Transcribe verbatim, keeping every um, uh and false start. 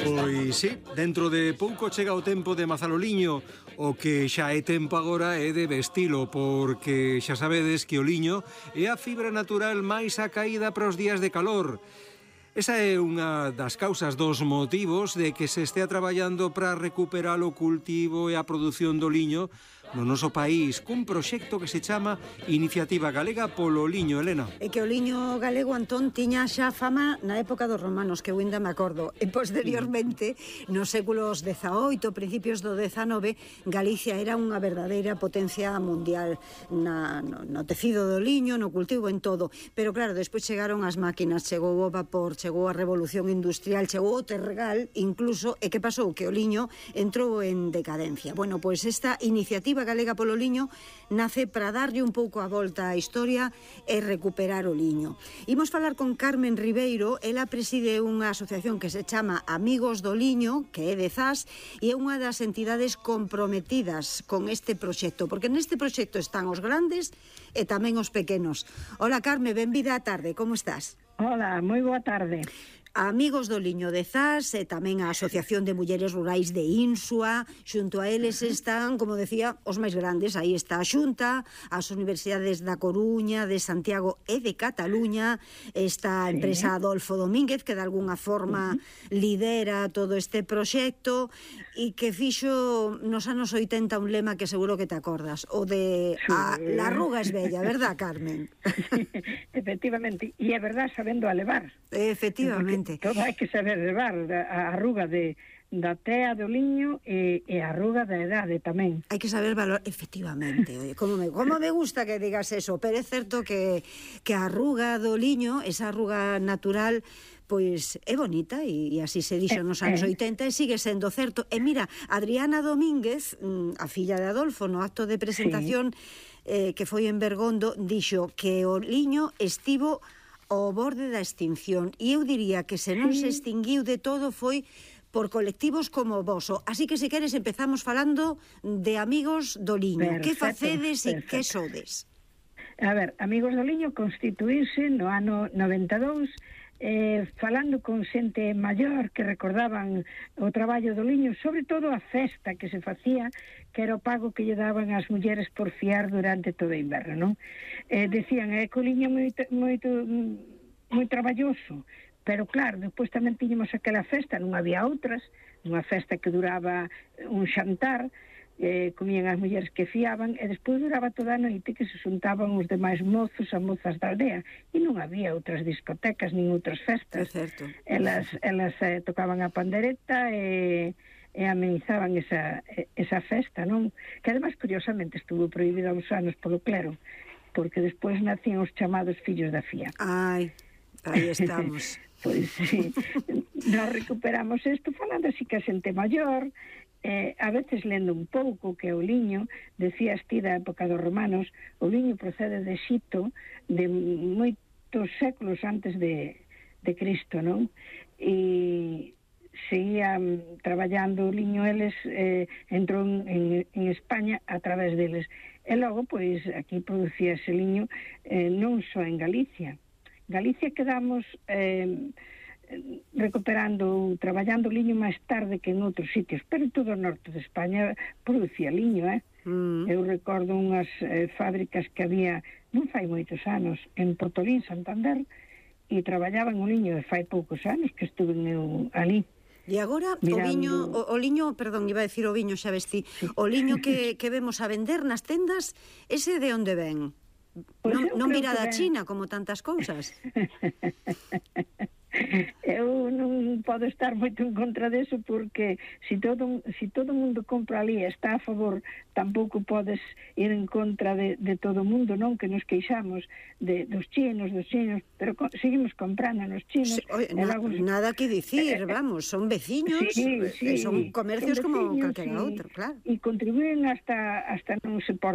Pois sí, dentro de pouco chega o tempo de mazar o liño. O que xa é tempo agora é de vestilo, porque xa sabedes que o liño é a fibra natural máis acaída para os días de calor. Esa é unha das causas, dos motivos de que se estea traballando para recuperar o cultivo e a produción do liño no noso país, cun proxecto que se chama Iniciativa Galega polo Liño, Elena. E que o liño galego, Antón, tiña xa fama na época dos romanos, que eu ainda me acordo. E posteriormente, nos séculos dezaoito, principios do dezanove, Galicia era unha verdadeira potencia mundial na, no, no tecido do liño, no cultivo, en todo. Pero claro, despois chegaron as máquinas, chegou o vapor, chegou a revolución industrial, chegou o tergal, incluso, e que pasou? Que o liño entrou en decadencia. Bueno, pois esta iniciativa Galega polo Liño nace para darlle un pouco a volta á historia e recuperar o liño. Imos falar con Carmen Ribeiro, ela preside unha asociación que se chama Amigos do Liño, que é de Zas, e é unha das entidades comprometidas con este proxecto, porque neste proxecto están os grandes e tamén os pequenos. Hola, Carmen, benvida á tarde, como estás? Hola, moi boa tarde. Amigos do Liño de Zas e tamén a Asociación de Mulleres Rurais de Insua. Xunto a eles están, como decía, os máis grandes. Aí está a Xunta, as universidades da Coruña, de Santiago e de Cataluña. Está a empresa Adolfo Domínguez, que de alguna forma lidera todo este proxecto e que fixo nos anos oitenta un lema que seguro que te acordas, o de a, la arruga es bella, verdad, Carmen? Efectivamente, e é verdad, sabendo a levar. Efectivamente. Porque todo hai que saber levar, a arruga de, da tea do liño e, e a arruga da edade tamén. Hai que saber valor, efectivamente. Oye, como me, como me gusta que digas eso, pero é certo que, que a arruga do liño, esa arruga natural, pois é bonita e, e así se dixo nos anos oitenta e sigue sendo certo. E mira, Adriana Domínguez, a filla de Adolfo, no acto de presentación sí. eh, que foi en Bergondo, dixo que o liño estivo ao borde da extinción, e eu diría que se non se extinguiu de todo foi por colectivos como o voso. Así que, se queres, empezamos falando de Amigos do Liño. Perfecto, que facedes e que sodes? A ver, Amigos do Liño constituíse no ano noventa e dous, eh, falando con xente maior que recordaban o traballo do liño, sobre todo a festa que se facía, que era o pago que lle daban as mulleres por fiar durante todo o inverno, non? Eh, decían, é que o liño moito, moito, moi traballoso, pero claro, depois tamén tiñamos aquela festa, non había outras, unha festa que duraba un xantar, eh, comían as mulleres que fiaban, e despois duraba toda a noite que se xuntaban os demais mozos a mozas da aldea, e non había outras discotecas nin outras festas. É certo. Elas, elas eh, tocaban a pandereta e, e amenizaban esa, esa festa, non? Que ademais, curiosamente, estuvo prohibida uns anos polo clero, porque despois nacían os chamados fillos da fía. Ai, aí estamos. Pois sí, nos recuperamos isto falando así que a xente maior, eh, a veces lendo un pouco que o liño, decías ti da época dos romanos, o liño procede de Xipto, de moitos séculos antes de, de Cristo, non? E seguían traballando o liño eles, eh, entrou en, en España a través deles. E logo, pois, aquí producía ese liño eh, non só en Galicia. Galicia quedamos eh, recuperando, traballando liño máis tarde que en outros sitios, pero todo o norte de España producía liño, eh? Mm. Eu recordo unhas eh, fábricas que había, non fai moitos anos, en Portolín, Santander, e traballaban o liño, e fai poucos anos que estuve eu ali. E agora mirando... o viño, o, o liño, perdón, iba a decir o viño, xa vestí, sí. O liño que, que vemos a vender nas tendas, ese de onde ven? Pues non non virá da China, como tantas cousas. Eu non podo estar moito en contra deso, porque se todo, si todo o mundo compra ali e está a favor, tampouco podes ir en contra de, de todo o mundo, non? Que nos queixamos de, dos chinos, dos chinos, pero co, seguimos comprando nos chinos. Sí, oye, na, logo... Nada que dicir, vamos, son veciños, sí, sí, son comercios son veciños, como calquera outro, claro. E contribúen hasta, hasta non se por